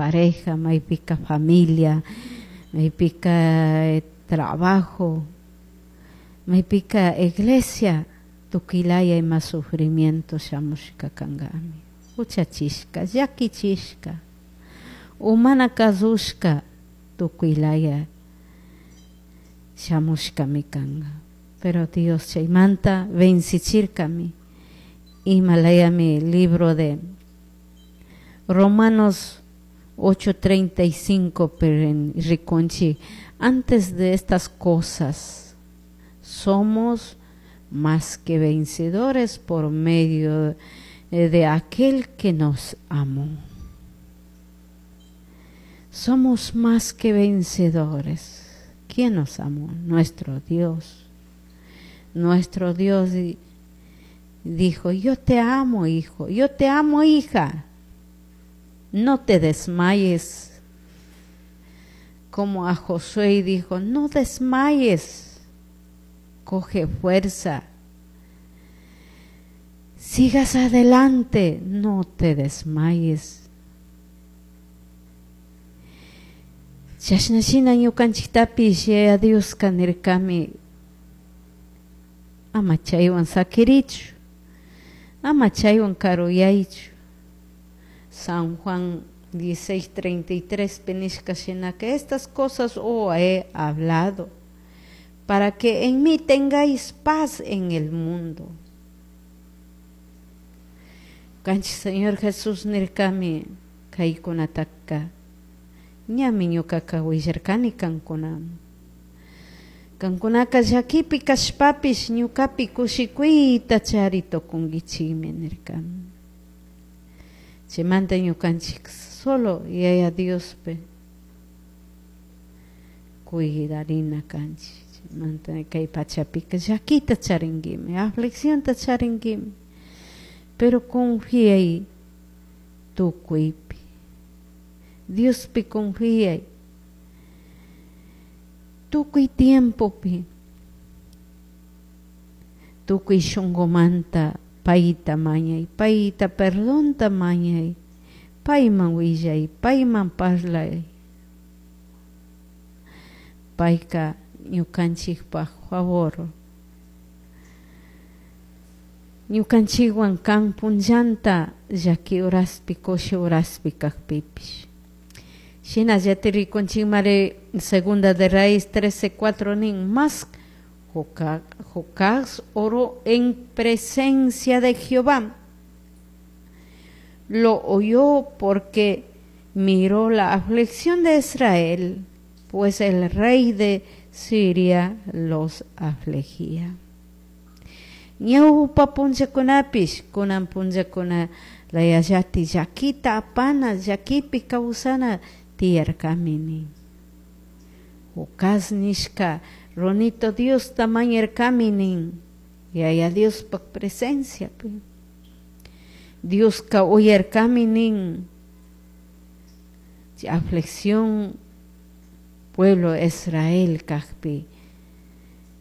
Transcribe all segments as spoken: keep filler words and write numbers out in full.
pareja, maypika familia, maypika trabajo, maypika iglesia, tukuylaya ima sufrimiento shamushka kankami, huchachishka, llakichishka, o mana kasushka tukuylaya shamushkami kanka, pero Dios chaymanta vencichirkami, imalayami libro de Romanos ocho treinta y cinco rikunchik, antes de estas cosas somos más que vencedores por medio de aquel que nos amó. Somos más que vencedores. ¿Quién nos amó? Nuestro Dios. Nuestro Dios dijo, yo te amo, hijo, yo te amo, hija. No te desmayes. Como a Josué dijo, no desmayes, coge fuerza, sigas adelante, no te desmayes. Chashnashina ñukanchiktapish Yaya Dioska nirkami, ama chaywan sakirichu, ama chaywan karuyaychu. San Juan dieciséis treinta y tres nishka shinaka, estas cosas os he hablado para que en mí tengáis paz en el mundo. Kanchik Señor Jesús nirkami kaykunataka ñami ñukaka willarkani kankunaman. Kankunaka llakipi kashpapish ñukapi kushikuyta chari tukunkichikmi nirkami. Chaymanta ñukanchik solo Yaya Diospi cuidarina kanchik. Chaymanta kay pachapika llakita charinkimi, afliccionta charinkimi, pero confiay tukuypi, Diospi confiay tukuy tiempopi, tukuy shunqumanta payta mañay, payta perdonta mañay, payman willay, payman parlay, payka ñukanchikpaj favor, ñukanchikwan kan punllanta llaki horaspi kushi horaspi kajpipish. Shinallati rikunchikmari Segunda de Reyes trece cuatro nin, más Jocás oró en presencia de Jehová. Lo oyó porque miró la aflicción de Israel, pues el rey de Siria los afligía. Ñawpa punllakunapish, kunan punllakuna layallati llakita apana, llakipi kawsana tiyarkami nin. Jocás nishka runito Diosta mañarkami nin, Yaya Diospaj presenciapi. Dioska uyarkami nin, aflicción pueblo Israel kajpi,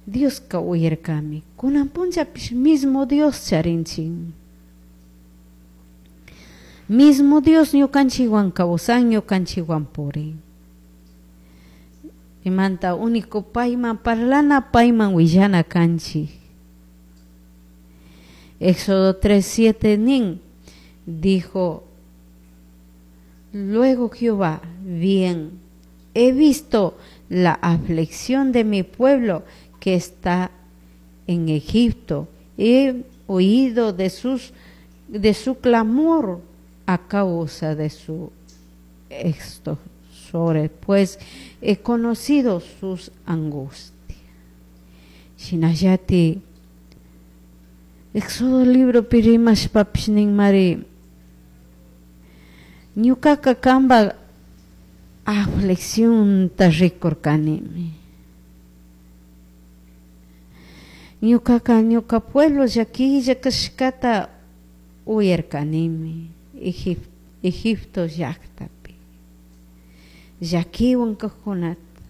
Dioska uyarkami, kunan punllapish mismo Dios charinchik. Mismo Dios ñukanchikwan kawsan, ñukanchikwan purin. Imanta único payman parlana, payman willana kanchik. Éxodo tres siete nin, dijo luego Jehová, bien, he visto la aflicción de mi pueblo que está en Egipto, he oído de sus, de su clamor a causa de su extorsores, pues he conocido sus angustias. Shinallati Éxodo libro pirimashpapish nin mari, ñukaka kamba afliccionta rikurkanimi. Ñukaka ñuka pueblo llakilla kashkata uyarkanimi Egipto llaktapi, llakiwan kajkunata,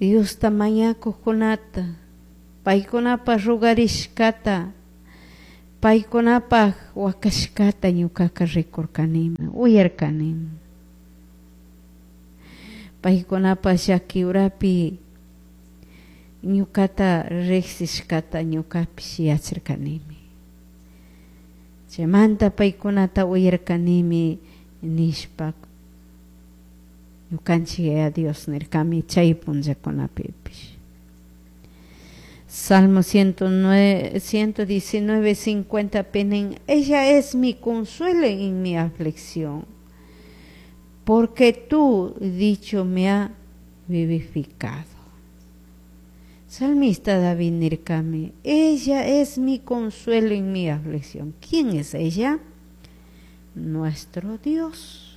Diosta mañakujkunata, paykunapa rugarishkata, Paykunapaj wakashkata ñukaka rikurkanimi, uyarkanimi. Paykunapaj llaki urapi ñukata riksishkata ñukapish yacharkanimi. Chaymanta paykunata uyarkanimi nishpa ñukanchik Yaya Dios nirkami chay punllakunapipish. Salmo ciento nueve, ciento diecinueve, cincuenta nin, ella es mi consuelo en mi aflicción, porque tu dicho me ha vivificado. Salmista David nirkami, ella es mi consuelo en mi aflicción. ¿Quién es ella? Nuestro Dios.